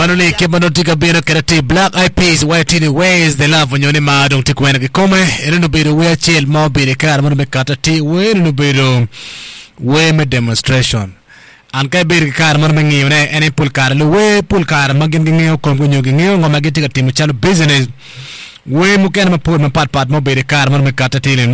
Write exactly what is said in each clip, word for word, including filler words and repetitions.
Mano ni kit ma nongo tye ka bino kwede ti Black Eyed Peas waco tye ni where is the love onyo ni mar dong tye kwene kikome enoni obedo wer acel ma obedo i kare meno me kata ti wer enoni obedo wer me demonstration an ka ibedo ki kare meno me ngiyone en aye pol kare luwer pol kare ma gin gingeyo komgi nyo gingeyo ngo ma gitye ka timo calo business wer mukene mapol mapat pat ma obedo i kare meno me kata ti ni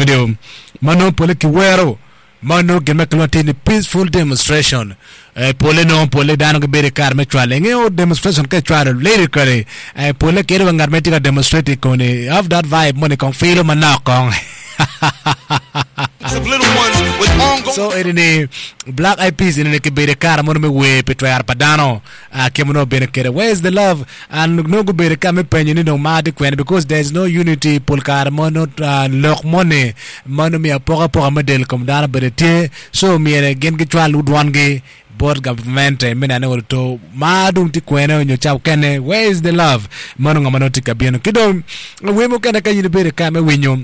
ma nongo pole kiwero ma nongo gin ma kilwongo atir ni peaceful demonstration eh, pole nongo pole dano gibedo i kare me cwalo ingeyo demonstration ka icwalo lyrically eh, pole kede wa ngat ma tye ka demonstrate koni have that vibe moni kong filo manok kong Of little ones with ongoing so eni ni Black Eyed Peas eni ni kibedo i kare mono me wer pi twero pa dano uh, kit ma nongo obedo kwede where is the love and nongo gubedo ka me penyo ni dong mar tye kwene because there is no unity pol kare mo nongo uh, lok moni ma nongo miyo apokapoka me del kom dano bene tye so myero gin gicwal dwangi bot gavmente me neno ni to mar dong tye kwene nyo ca okene where is the love mano ngo ma nongo tye ka bino ki dong wer mukene ka in ibedo ka me winyo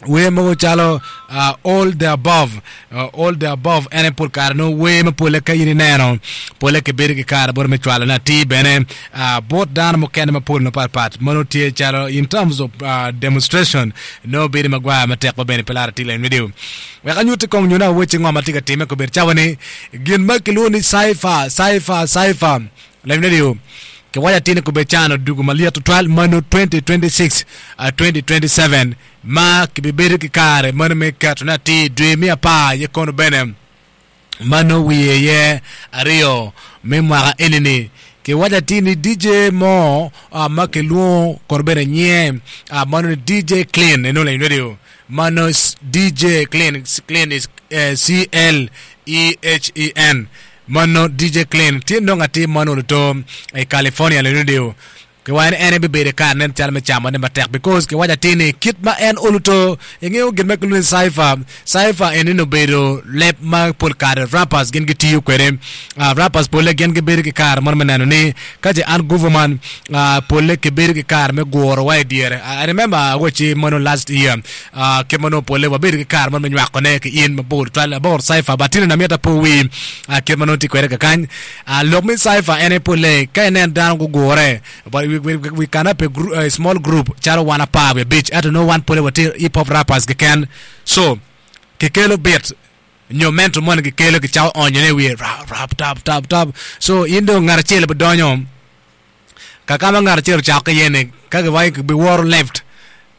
wer mogo calo uh, all the above uh, all the above en aye pol kare nongo wer ma pole ka in ineno pole kibedo ki kare bote me cwalone atir bene uh, bot dano mukene mapol mapatpat ma nongo tye calo in terms of uh, demonstration nongo bedo magwar matek ma bene pe laro atir leng video wek anyutti kong nyo na weche ngo ma tye ka timme kobedo cawa ni gin ma kilwongo ni cypher cypher cypher leng radio kiwaco atir ni kobedo cano dugu malyet tutwal mano twenty twenty-six uh, twenty twenty-seven ma kibibedo ki kare mano me ketone atir dwe me apar ye kono bene mano wiye ye aryo me mwaka enini kiwaco atir ni D J mo uh, ma kilwongo kono bene nyinge uh, mano ni D J Clean eno leng radio mano D J Clean Clean is uh, C L E H E N mano D J Clean tye nongo atir mano oluto i California leng radio kiwaco ni en ebibedo i kare nen calo me camone matek because kiwaco atir ni kit ma en oluto ingeyo gin ma kilwongo ni cypher cypher eni obedo leb ma pol kare rappers gin gitiyo kwede uh, rappers pole gin gibedo ki kare mono me neno ni ka ce an government uh, pole kibedo ki kare me guro wa i dyere. I remember awaci mono last year uh, kit ma nongo pole wabedo ki kare mono me nywakone ki in mabor twal abor cypher but tino na myeta po wi uh, kit ma nongo tye kwede kakany uh, lok me cypher en aye pole ka inen dano gugure but we, we, we can have a, group, a small group calo wan apar wi abic ento nongo wan pole watye hip hop rappers keken so kikelo beat nyo mento moni kikelo kicako onyone i wiye rap rap tap tap tap so in dong ngat acel bidonyo kakama ngat acel ocako ki iye ni ka giwaco kibiworo left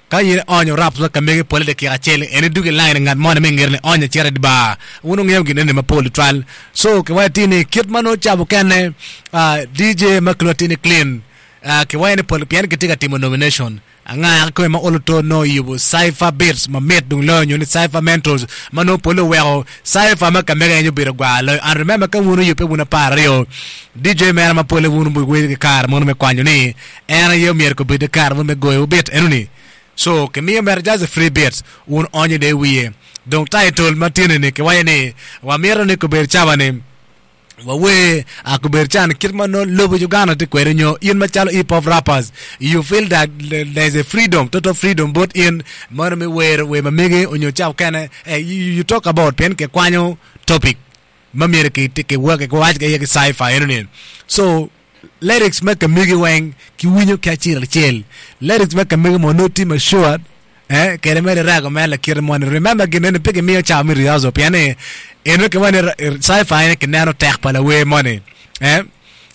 ka in onyo rap ma kamegi pole dakika acel en idugo i line ngat moni me ngete ni onyo acito i di bar wun wungeyo gin eni mapol tutwal so kiwaco atir ni kit ma nongo cabo kene uh, D J ma kilwongo atir ni Clean uh, kiwaco ni pol pien kitye ka timo nomination anga kikome ma oluto nongo yubo cypher beats mamit dong loyo nyo ni cypher mentals ma nongo pole oweko cypher ma kamege en obedo gwar loyo and remember ka wun oyubbe wun apar aryo D J mere ma pole wun obedo ki kare mono me kwanyo ni en aye omyero kobed ki kare mono me goyo beat enoni so kimiyo mere just a free beat wun onyo de wiye dong title ma tyene ni kiwaco ni wamito ni kobedo cawa ni wawer akobedo can kit ma nongo lobo Uganda tye kwede nyo in macalo hip hop rappers you feel that there is a freedom total freedom both in mono me wero wer mamege onyo cawa kene eh, you, you talk about pien kikwanyo topic ma myero ki ki ki kiwac ki iye ki cypher enoni so lyrics ma kamegi weng kiwinyo ki acel acel lyrics ma kamegi mo nongo tye masured eh kede mere rago mere lakite moni remember gin eni pe kimiyo cawa me rehearsal pien ni eno kiwaco ni cypher eni kineno tek pa lawer moni eh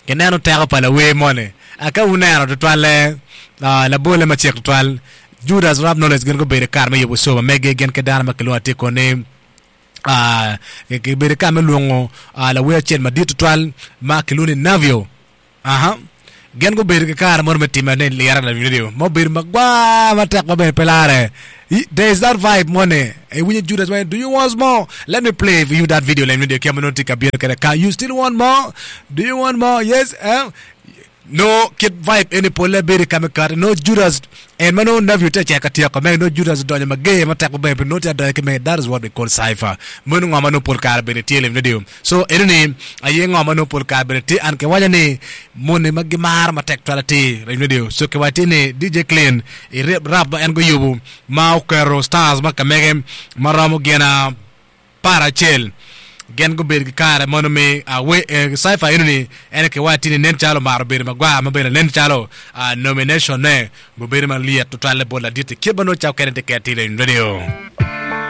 kineno teko pa lawer moni aka wuneno tutwalle uh, labole macek tutwal Judas Rap Knowledge gin gubedo kare me yubo show ma mege gin ki dano ma kilwongo atir koni uh, kibedo kare me lwongo uh, lawer acel madit tutwal ma kilwongo ni Navio aha gin gubedo ki kare mono me time ni lira la video ma obedo magwar matek ma bene pe lare there is that vibe moni iwinyo Judas went do you want more let me play for you that video let me video kema nongo tye ka bino kwede ka you still want more do you want more yes eh? No kit vibe eni pole bedo ka me kati no Judas en ma no Navio tye ka tyeko me no Judas odonyo mager matek maber pe no tye adonyo ki me that is what we call cypher meno ngo ma no pol kare bene tye lem radio so eno ni aye ngo ma no pol kare bene tye an kiwaco ni moni ma gimaro matek twal atir lem radio so kiwaco tye ni D J Clean i rap ma en guyubo ma oketo stars ma kamege ma romo gin apar acel Gin gubedo ki kare mono me cypher enoni ene ki waci ni nen calo omaro bedo magwar ma bene nen calo nomination ne obedo malyet tutwalle bot ladit-ti kit ma nongo ca okene tye kede tye i radio.